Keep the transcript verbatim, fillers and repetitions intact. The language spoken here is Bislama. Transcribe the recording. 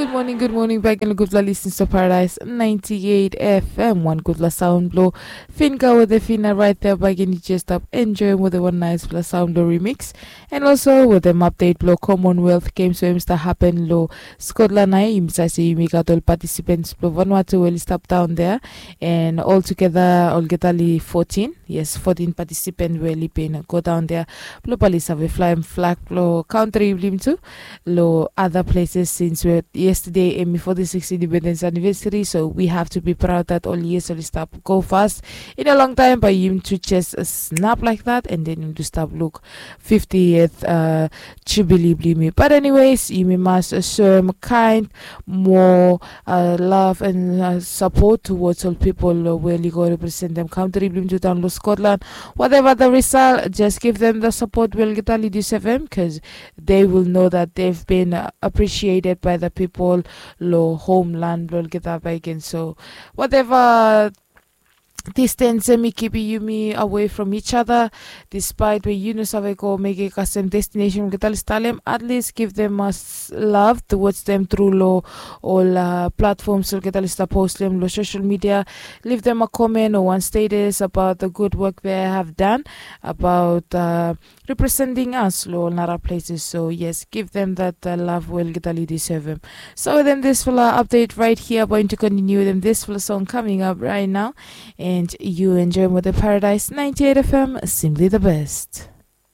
Gud moning, gud moning bagen long gudfala lisens blong Paradise ninety eight F M. Wan gudfala saon blong Finga wetem Fina raet ya bagen. Yu jes stap enjoem wetem wan naesfala saon blong remix. And also wetem update blong Commonwealth Games we hemi stap hapen long Scotland nao. Yumi save se yumi gat ol participants blong Vanuatu we oli stap daon dea. And altogether olgeta oli fotin. Yes, fotin participant we oli bin go daon dea blong bae oli save flaem flag blong kantri blong yumi tu long other places, since we yesterday hemi forty six independence anniversary, so we have to be proud that ol years oli stap go fast. In a long time bae yumi tu jes snap like that, and then yumi tu stap luk fiftieth uh, jubilee blong yumi. But anyways, yumi mas soem kind mo uh, love and uh, support towards ol pipol uh, we oli go representem kantri blong yumi tu daon long Scotland. Whatever the result, just give them the support we olgeta oli deserve, because they will know that they've been uh, appreciated by the people long homeland blong olgeta bagen. So whatever distance hemi kipim yumi away from each other, despite we yu no save go mekem kasem destination olgeta oli stap long hem, at least give them a s- love towards them through long ol uh, platforms olgeta oli stap post long hem long social media. Leave them a comment or one status about the good work they have done about uh, representing us long ol nara places. So yes, give them that uh, love we olgeta oli deserve hem. So wetem disfala update right here, bae yumi tu continue wetem disfala song coming up right now. And yu enjoem wetem Paradise ninety eight F M, simply the best.